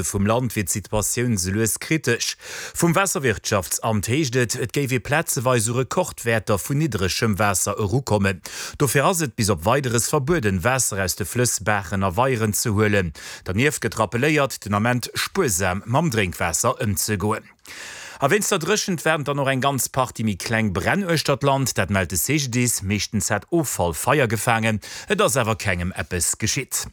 Vum Land wier d'Situatioun sou lues kritesch. Vum Waasserwirtschaftsamt heescht et, et géif ee plazeweis u Rekordwäerter vun niddregem Waasser erukommen. Dofir ass et bis op Weideres verbueden, Waasser aus de Flëss, Baachen a Weieren ze huelen. Dernieft gëtt rappelléiert, den Ament spuersam mam Drénkwaasser ëmzegoen. A wéinst der Dréchent waarden dann och eng ganz Partie méi kleng Bränn uechter d'Land. Dat mellt de CGDIS. Meeschtens hat Offall Feier gefaangen, et ass awer kengem eppes geschitt.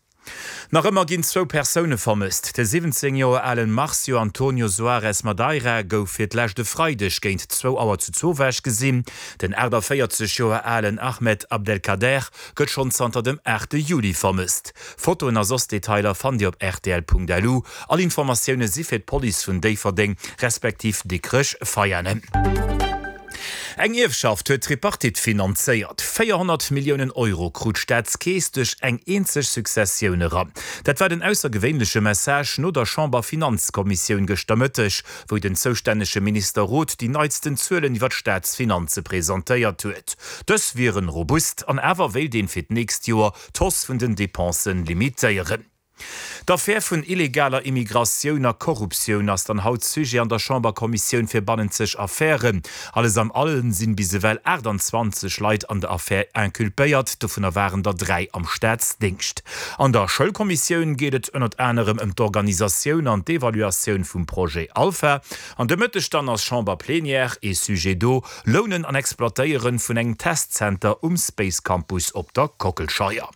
Nach ëmmer ginn zwou Persoune vermësst. De 17 Joer alen Marcio Antonio Soares Madeira gouf fir d'lescht e Freideg géint zwou Auer zu Zowaasch gesinn. Den 48 Joer alen Ahmed Abdelkader gëtt schonn zanter dem 8 Juli vermësst. Fotoen a soss Detailer fannt Dir op rtl.lu. All Informatioune si fir d'Police vun Déifferdeng respektiv Dikrech-Veianen. Eng Ierfschaft huet d'Tripartite finanzéiert. 400 Milliounen Euro krut d'Staatskeess duerch eng eenzeg Successioun eran. Dat war den aussergewéinleche Message no der Chamber-Finanzkommissioun gëschter Mëtteg, wou den zoustännege Minister Roth déi neitsten Zuelen iwwer d'Staatsfinanze presentéiert huet. Dës wieren robust an awer wéilt een fir d'nächst Joer d'Hausse vun den Depensen limitéieren. D'Affär vun illegaler Immigratioun a Korruptioun ass dann haut Sujet an der Chamberkommissioun fir bannenzeg Affären. Alles am allen sinn bis ewell 28 Leit an der Affär inculpéiert, dovunner waren der 3 am Staatsdéngscht. An der Schoulkommissioun geet et ënnert anerem ëm d'Organisatioun an d'Evaluatioun vum Projet Alpha. An de Mëtteg dann ass Chamberplenière, ee Sujet do, Lounen an Exploitéieren vun engem Testzenter um Space Campus op der Kockelscheier.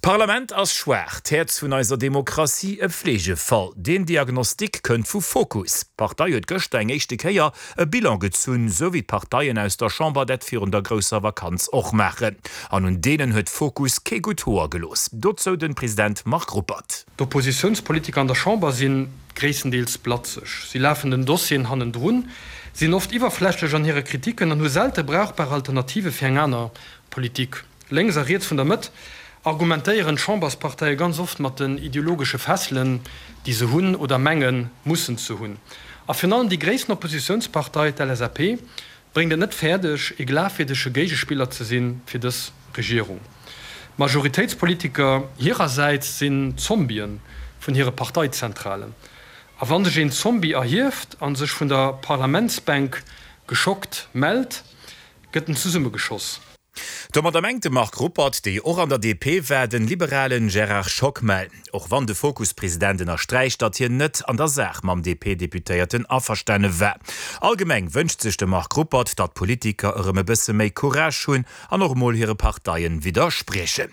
D'Parlament ass schwaach, d'Häerz vun eiser Demokratie e Fleegefall. Deen Diagnostic kënnt vu Fokus. D'Partei huet gëschter eng éischte Kéier e Bilan gezunn, sou wéi d'Parteien aus der Chamber dat virun der grousser Vakanz och maachen. An un deenen huet Fokus kee gutt Hoer gelooss. Dozou de President Marc Ruppert. D'Oppositiounspolitiker an der Chamber si gréisstendeels blatzeg. Si lafen den Dossieren hannendrun, sinn oft iwwerflächlech an hire Kritiken an hu selte brauchbar Alternative fir eng aner Politik. Lénks a riets vun der Mëtt argumentéieren d'Chambersparteie ganz oft mat den ideologesche Fesselen, déi se hunn oder mengen, mussen ze hunn. A virun allem déi gréissten Oppositiounspartei, d'LSAP, bréngt et net fäerdeg, ee glafwierdege Géigespiller ze si fir dës Regierung. D'Majoritéitspolitiker hirersäits sinn Zombie vun hire Parteizentralen. A wa sech een Zombie erhieft a sech vun der Parlamentsbänk geschockt mellt, gëtt en zesummegeschoss. Domadder mengt de Marc Ruppert, dee jo och an der DP war, den liberalen Gérard Schockmel. Och wann de Fokus-President ënnersträicht, datt hien net an der Saach mam DP-Deputéierten averstane war. Allgemeng wënscht sech de Marc Ruppert, datt d'Politiker erëm e bësse méi Courage hunn an och emol hire Parteien widderspriechen.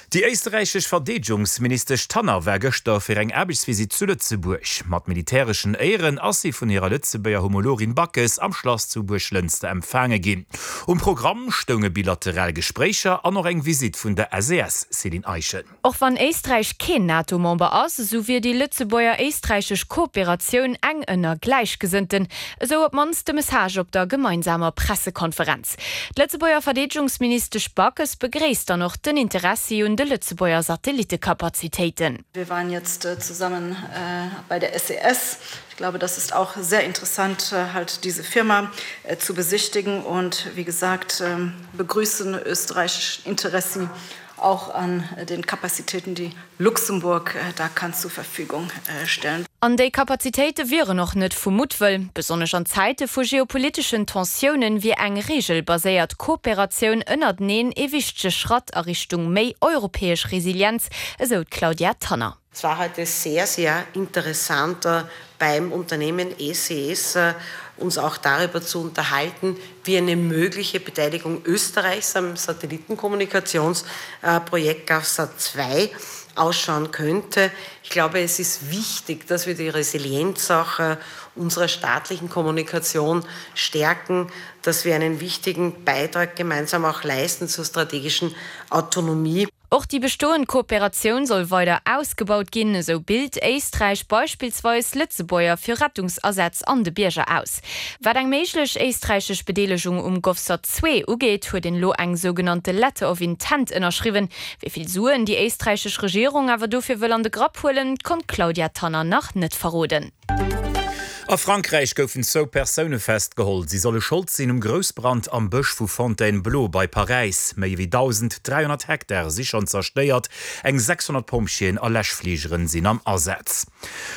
Déi éisterräichesch Verdeedegungsministesch Tanner war gëschter fir eng Aarbechtsvisitt zu Lëtzebuerg. Mat militäreschen Éieren ass si vun hirer Lëtzebuerger Homologin Backes am Schlass zu Buerglënster empfaange ginn. Um Programm stounge bilateral Gespréicher an och eng Visitt vun der SES. Céline Eischen. Och wann Éisträich keen NATO-Member ass, esou wier déi lëtzebuerger-éisträichesch Kooperatioun eng ënner Gläichgesënnten, esou op d'mannst de Message op der gemeinsamer Pressekonferenz. D'Lëtzebuerger Verdeedegungsministesch Backes begréisst dann och den Interessi un de Lëtzebuerger Satellitekapazitéiten. Wir waren jetzt zusammen bei der SES. Ich glaube, das ist auch sehr interessant, halt diese Firma zu besichtigen und wie gesagt begrüßen österreichische Interessen auch an den Kapazitäten, die Luxemburg da kann zur Verfügung stellen. An déi Kapazitéite wieren och net vu Muttwëll. Besonnesch an Zäite vu geopoliteschen Tensiounen wier eng regelbaséiert Kooperatioun ënnerteneen ee wichtege Schratt a Richtung méi europäesch Resilienz, esou d'Claudia Tanner. Es war heute sehr, sehr interessant beim Unternehmen SES uns auch darüber zu unterhalten, wie eine mögliche Beteiligung Österreichs am Satellitenkommunikationsprojekt GovSat 2 ausschauen könnte. Ich glaube, es ist wichtig, dass wir die Resilienz auch unserer staatlichen Kommunikation stärken, dass wir einen wichtigen Beitrag gemeinsam auch leisten zur strategischen Autonomie. Och déi bestoend Kooperatioun soll weider ausgebaut ginn. Esou bilt Éisträich beispillsweis Lëtzebuerger fir Rettungsasätz an de Bierger aus. Wat eng méiglech éisträichesch Bedeelegung um GovSat 2 ugeet, huet een elo eng sougenannte Letter of Intent ënnerschriwwen. Wéi vill Suen déi éisträichesch Regierung awer dofir wëll an de Grapp huelen, konnt d'Claudia Tanner nach net verroden. A Frankräich goufen zwou Persoune festgeholl. Si solle Schold sinn um Groussbrand am Bësch vu Fontainebleau bei Paräis. Méi ewéi 1.300 Hektar si schonn zerstéiert, eng 600 Pompjeeën a Läschfligeren sinn am Asaz.